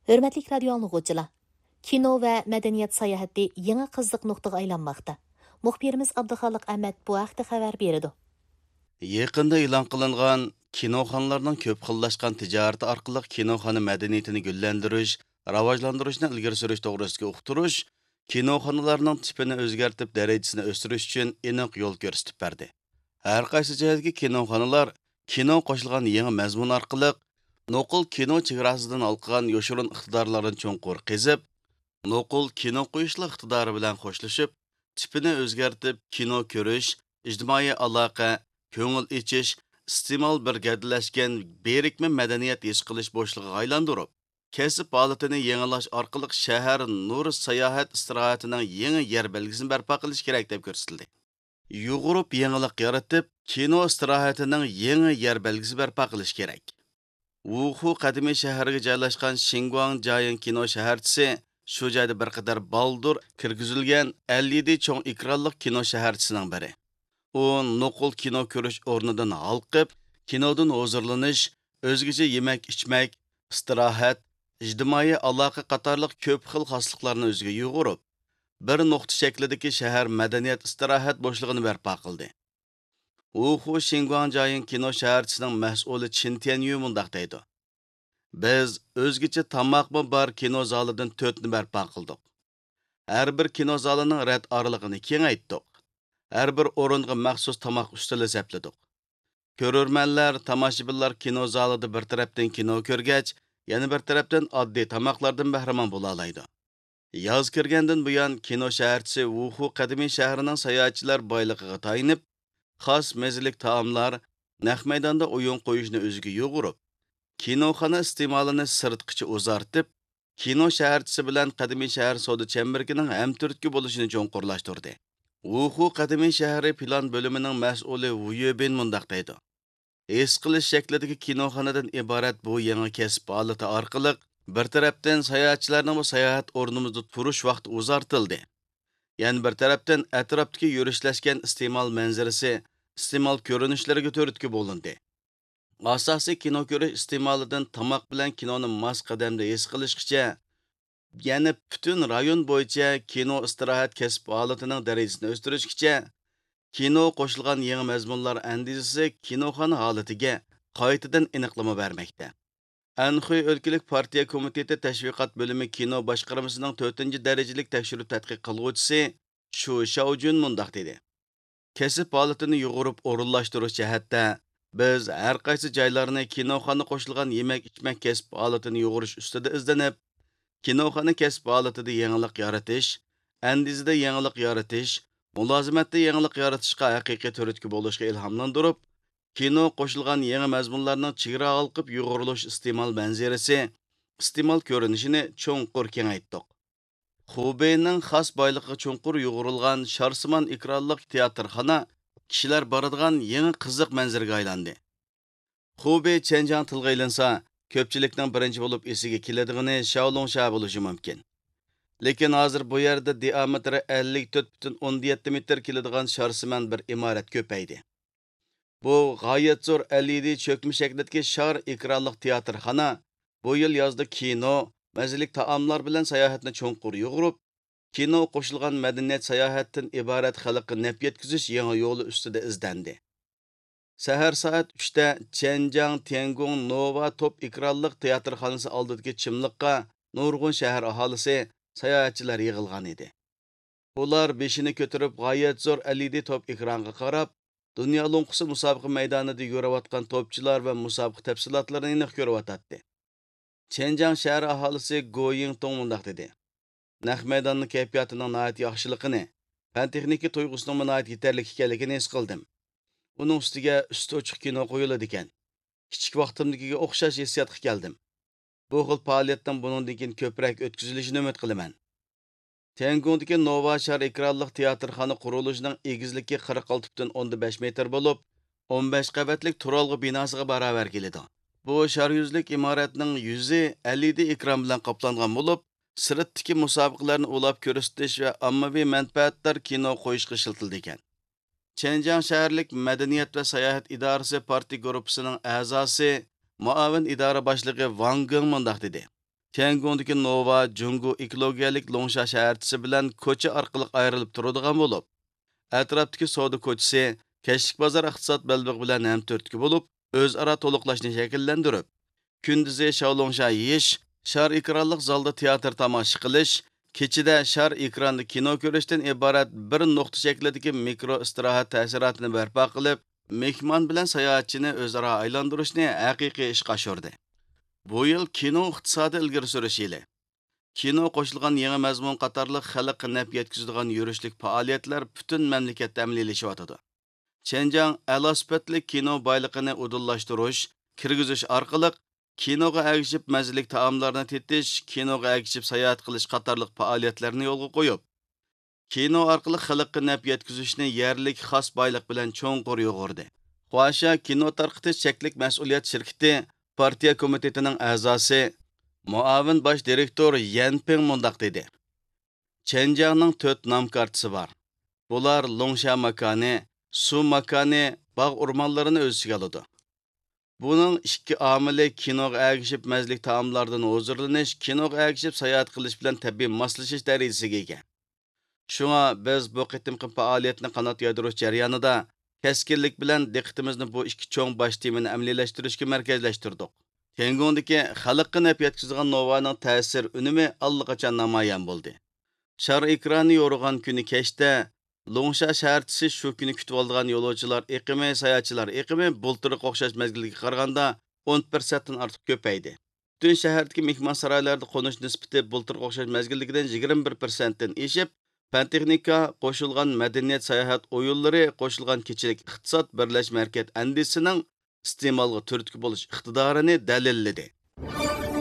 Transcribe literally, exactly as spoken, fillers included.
ھۆرمەتلىك رادىيو ئاڭلىغۇچىلار! كىنو ۋە مەدەنىيەت ساياھىتى يېڭى قىزىق نۇقتىغا ئايلانماقتا. مۇخبىرىمىز ئابدۇخالىق ئەمەت بۇ ھەقتە خەۋەر بېرىدۇ. يېقىندا ئېلان قىلىنغان كىنوخانىلارنىڭ كۆپ خىللاشقان تىجارىتى ئارقىلىق كىنوخانا مەدەنىيىتىنى گۈللەندۈرۈش، راۋاجلاندۇرۇشنى ئىلگىرى سۈرۈش توغرىسىدىكى ئۇقتۇرۇش كىنوخانىلارنىڭ تىپىنى ئۆزگەرتىپ، دەرىجىسىنى ئۆستۈرۈش ئۈچۈن ئېنىق يول كۆرسىتىپ بەردى. ھەر قايسى جايدىكى كىنوخانىلار كىنو قوشۇلغان يېڭى مەزمۇن ئارقىلىق نوقۇل كىنو چېگراسىدىن ھالقىغان يوشۇرۇن ئىقتىدارلارنى چوڭقۇر قېزىپ، نوقۇل كىنو قويۇشلۇق ئىقتىدارى بىلەن خوشلىشىپ، تىپىنى ئۆزگەرتىپ، كىنو كۆرۈش، ئىجتىمائىي ئالاقە، كۆڭۈل ئېچىش، ئىستېمال بىر گەۋدىلەشكەن بىرىكمە مەدەنىيەت ھېس قىلىش بوشلۇقىغا ئايلاندۇرۇپ، كەسىپ ھالىتىنى يېڭىلاش ئارقىلىق شەھەر نۇر ساياھەت ئىستىراھەتىنىڭ يېڭى يەر بەلگىسىنى بەرپا قىلىش كېرەك، دەپ كۆرسىتىلدى. يۇغۇرۇپ يېڭىلىق يارىتىپ، كىنو ئىستىراھەتىنىڭ يېڭى يەر بەلگىسى بەرپا قىلىش كېرەك. ۋۇخۇ قەدىمىي شەھىرىگە جايلاشقان شىنگۇاڭ جايىڭ كىنو شەھەرچىسى شۇ جايدا بىر قەدەر بالدۇر كىرگۈزۈلگەن ئەل يەتتە چوڭ ئېكرانلىق كىنو شەھەرچىسىنىڭ بىرى. ئۇ نوقۇل كىنو كۆرۈش ئورنىدىن ھالقىپ، كىنودىن ھۇزۇرلىنىش، ئۆزگىچە يېمەك-ئىچمەك، ئىستىراھەت، ئىجتىمائىي ئالاقە قاتارلىق كۆپ خىل خاسلىقلارنى ئۆزىگە يۇغۇرۇپ، بىر نۇقتا شەكلىدىكى شەھەر مەدەنىيەت ئىستىراھەت بوشلۇقىنى بەرپا قىلدى. ۋۇخۇ شىنگۇاڭ جايىڭ كىنو شەھەرچىسىنىڭ مەسئۇلى چىن تيەنيۈ مۇنداق دەيدۇ: بىز ئۆزگىچە تاماقمۇ بار كىنو زالىدىن تۆتنى بەرپا قىلدۇق. ھەر بىر كىنو زالىنىڭ رەت ئارىلىقىنى كېڭەيتتۇق. ھەر بىر ئورۇنغا مەخسۇس تاماق ئۈستىلى سەپلىدۇق. كۆرۈرمەنلەر، تاماشىبىنلار كىنو زالىدا بىر تەرەپتىن كىنو كۆرگەچ، يەنە بىر تەرەپتىن ئاددىي تاماقلاردىن بەھرىمەن بولالايدۇ. ياز كىرگەندىن بۇيان، كىنو شەھەرچىسى ۋۇخۇ قەدىمىي شەھىرىنىڭ ساياھەتچىلەر بايلىقىغا تايىنىپ، خاس مەززىلىك تائاملار، نەق مەيداندا ئويۇن قويۇشنى ئۆزىگە يۇغۇرۇپ، كىنوخانا ئىستېمالىنى سىرتقىچە ئۇزارتىپ، كىنو شەھەرچىسى بىلەن قەدىمىي شەھەر سودا چەمبىرىكىنىڭ ھەمتۈرتكە بولۇشىنى چوڭقۇرلاشتۇردى. ۋۇخۇ قەدىمىي شەھىرى پىلان بۆلۈمىنىڭ مەسئۇلى ۋۇ يۆبىن مۇنداق دەيدۇ: ھېس قىلىش شەكلىدىكى كىنوخانىدىن ئىبارەت بۇ يېڭى كەسىپ ھالىتى ئارقىلىق، بىر تەرەپتىن ساياھەتچىلەرنىڭ بۇ ساياھەت ئورنىمىزدا تۇرۇش ۋاقتى ئۇزارتىلدى. يەنە بىر تەرەپتىن ئەتراپتىكى يۈرۈشلەشكەن ئىستېمال مەنزىرىسى، ئىستېمال كۆرۈنۈشلىرىگە تۈرتكە بولۇندى. ئاساسىي كىنو كۆرۈش ئىستېمالىدىن تاماق بىلەن كىنونى ماس قەدەمدە ھېس قىلىشقىچە، يەنە پۈتۈن رايون بويىچە كىنو ئىستىراھەت كەسىپ ھالىتىنىڭ دەرىجىسىنى ئۆستۈرۈشكىچە، كىنو قوشۇلغان يېڭى مەزمۇنلار ئەندىزىسى كىنوخانا ھالىتىگە قايتىدىن ئېنىقلىما بەرمەكتە. ئەنخۇي ئۆلكىلىك پارتىيە كومىتېتى تەشۋىقات بۆلۈمى كىنو باشقارمىسىنىڭ تۆتىنچى دەرىجىلىك تەكشۈرۈپ تەتقىق قىلغۇچىسى شۇ شياۋجۈن مۇنداق دېدى: كەسىپ ھالىتىنى يۇغۇرۇپ ئورۇنلاشتۇرۇش جەھەتتە، بىز ھەر قايسى جايلارنى كىنوخانا قوشۇلغان يېمەك-ئىچمەك كەسىپ ھالىتىنى يۇغۇرۇش ئۈستىدە ئىزدىنىپ، كىنوخانا كەسىپ ھالىتىدە يېڭىلىق يارىتىش، ئەندىزىدە يېڭىلىق يارىتىش، مۇلازىمەتتە يېڭىلىق يارىتىشقا ھەقىقىي تۈرتكە بولۇشقا ئىلھاملاندۇرۇپ، كىنو قوشۇلغان يېڭى مەزمۇنلارنىڭ چېگرا ھالقىپ يۇغۇرۇلۇش ئىستېمال مەنزىرىسى، ئىستېمال كۆرۈنۈشىنى چوڭقۇر كېڭەيتتۇق. خۇبېينىڭ خاس بايلىقىغا چوڭقۇر يۇغۇرۇلغان شارسىمان ئېكرانلىق تىياتىرخانا كىشىلەر بارىدىغان يېڭى قىزىق مەنزىرىگە ئايلاندى. خۇبېي چيەنجياڭ تىلغا ئېلىنسا، كۆپچىلىكنىڭ بىرىنچى بولۇپ ئېسىگە كېلىدىغىنى شياۋلۇڭ شەھەر بولۇشى مۇمكىن. لېكىن ھازىر بۇ يەردە دىئامېتىرى ئەللىك تۆت پۈتۈن ئوندىن يەتتە مېتىر كېلىدىغان شارسىمان بىر ئىمارەت كۆپەيدى. بۇ غايەت زور ئەلئىدى چۆكمە شەكلىدىكى شار ئېكرانلىق تىياتىرخانا بۇ يىل يازدا كىنو، مەززىلىك تائاملار بىلەن ساياھەتنى چوڭقۇر يۇغۇرۇپ، كىنو قوشۇلغان مەدەنىيەت ساياھەتتىن ئىبارەت خەلققە نەپ يەتكۈزۈش يېڭى يولى ئۈستىدە ئىزدەندى. سەھەر سائەت ئۈچتە چيەنجياڭ تيەنگۇڭ نوۋا توپ ئېكرانلىق تىياتىرخانىسى ئالدىدىكى چىملىققا نۇرغۇن شەھەر ئاھالىسى، ساياھەتچىلەر يىغىلغان ئىدى. ئۇلار بېشىنى كۆتۈرۈپ، غايەت زور ئەلئىدى توپ ئېكرانغا قاراپ، دۇنيا لوڭقىسى مۇسابىقە مەيدانىدا يۈرۈۋاتقان توپچىلار ۋە مۇسابىقە تەپسىلاتلىرىنى ئېنىق كۆرۈۋاتاتتى. چيەنجياڭ شەھەر ئاھالىسى گو يىڭتۇڭ مۇنداق دېدى: نەق مەيداننىڭ كەيپىياتىنىڭ ناھايىتى ياخشىلىقىنى، پەن تېخنىكا تۇيغۇسىنىڭمۇ ناھايىتى يېتەرلىك ئىكەنلىكىنى ھېس قىلدىم. ئۇنىڭ ئۈستىگە ئۈستى ئوچۇق كىنو قويۇلىدىكەن. كىچىك ۋاقتىمدىكىگە ئوخشاش ھېسسىياتقا كەلدىم. بۇ خىل پائالىيەتنىڭ بۇنىڭدىن كېيىن كۆپرەك ئۆتكۈزۈلۈشىنى ئۈمىد قىلىمەن. تيەنگۇڭدىكى نوۋا شار ئېكرانلىق تىياتىرخانا قۇرۇلۇشىنىڭ ئېگىزلىكى قىرىق ئالتە پۈتۈن ئوندىن بەش مېتىر بولۇپ، ئون بەش قەۋەتلىك تۇرالغۇ بىناسىغا باراۋەر كېلىدۇ. بۇ شار يۈزلۈك ئىمارەتنىڭ يۈزى ئەلئىدى ئېكران بىلەن قاپلانغان بولۇپ، سىرتتىكى مۇسابىقىلەرنى ئۇلاپ كۆرسىتىش ۋە ئاممىۋى مەنپەئەتدار كىنو قويۇشقا ئىشلىتىلىدىكەن. چيەنجياڭ شەھەرلىك مەدەنىيەت ۋە ساياھەت ئىدارىسى پارتىيە گۇرۇپپىسىنىڭ ئەزاسى، مۇئاۋىن ئىدارە باشلىقى ۋاڭ گېڭ مۇنداق دېدى: تيەنگوندىكى نوۋا جۇڭگو ئېكولوگىيەلىك لوڭشا شەھەرچىسى بىلەن كوچا ئارقىلىق ئايرىلىپ تۇرىدىغان بولۇپ، ئەتراپتىكى سودا كوچىسى كەچلىك بازار ئىقتىساد بەلبېغى بىلەن ھەمتۈرتكە بولۇپ، ئۆزئارا تولۇقلاشنى شەكىللەندۈرۈپ، كۈندۈزى شاۋلوڭشا يېيىش، شار ئېكرانلىق زالدا تېئاتىر تاماشا قىلىش، كېچىدە شار ئېكراندا كىنو كۆرۈشتىن ئىبارەت بىر نۇقتا شەكلىدىكى مىكرو ئىستىراھەت تەسىراتىنى بەرپا قىلىپ، مېھمان بىلەن ساياھەتچىنى ئۆزئارا ئايلاندۇرۇشنى ھەقىقىي ئىشقا ئاشۇردى. بۇ يىل كىنو ئىقتىسادى ئىلگىرى سۈرۈش يىلى. كىنو قوشۇلغان يېڭى مەزمۇن قاتارلىق خەلققە نەپ يەتكۈزىدىغان يۈرۈشلۈك پائالىيەتلەر پۈتۈن مەملىكەتتە ئەمەلىيلىشىۋاتىدۇ. چېنجياڭ ئەلا سۈپەتلىك كىنو بايلىقىنى ئۇدۇللاشتۇرۇش، كىرگۈزۈش ئارقىلىق كىنوغا ئەگىشىپ مەززىلىك تائاملارنى تېتىش، كىنوغا ئەگىشىپ ساياھەت قىلىش قاتارلىق پائالىيەتلەرنى يولغا قويۇپ، كىنو ئارقىلىق خەلققە نەپ يەتكۈزۈشنى يەرلىك خاس بايلىق بىلەن چوڭقۇر يۇغۇردى. خۇاشيا كىنو تارقىتىش چەكلىك مەسئۇلىيەت شىركىتى پارتىيە كومىتېتىنىڭ ئەزاسى، مۇئاۋىن باش دىرېكتور يەن پىڭ مۇنداق دېدى: چېنجياڭنىڭ تۆت نام كارتىسى بار. بۇلار لوڭشا ماكانى، سۇ ماكانى، باغ ئورمانلىرىنى ئۆز ئىچىگە ئالىدۇ. بۇنىڭ ئىككى ئامىلى كىنوغا ئەگىشىپ مەززىلىك تائاملاردىن ھۇزۇرلىنىش، كىنوغا ئەگىشىپ ساياھەت قىلىش بىلەن تەبىئىي ماسلىشىش دەرىجىسىگە ئىگە. شۇڭا بىز بۇ قېتىمقى پائالىيەتنى قانات يايدۇرۇش جەريانىدا كەسكىنلىك بىلەن دىققىتىمىزنى بۇ ئىككى چوڭ باش تېمىنى ئەمەلىيلەشتۈرۈشكە مەركەزلەشتۈردۇق. تيەنگوندىكى خەلققە نەپ يەتكۈزىدىغان نوۋانىڭ تەسىر ئۈنۈمى ئاللىقاچان نامايان بولدى. شار ئېكرانى يورۇغان كۈنى كەچتە لوڭشا شەھەرچىسى شۇ كۈنى كۈتۈۋالىدىغان يولۇچىلار ئېقىمى، ساياھەتچىلەر ئېقىمى بۇلتۇرقى ئوخشاش مەزگىلگە قارىغاندا ئون پىرسەنتتىن ئارتۇق كۆپەيدى. پۈتۈن شەھەردىكى مېھمانسارايلاردا قونۇش نىسبىتى بۇلتۇرقى ئوخشاش مەزگىلدىكىدىن يىگىرمە بىر پىرسەنتتىن ئېشىپ، پەن تېخنىكا، قوشۇلغان مەدەنىيەت، ساياھەت ئويۇنلىرى، قوشۇلغان كېچىلىك ئىقتىساد، بىرلەشمە ھەرىكەت ئەندىزىسىنىڭ ئىستېمالغا تۈرتكە بولۇش ئىقتىدارىنى دەلىللىدى.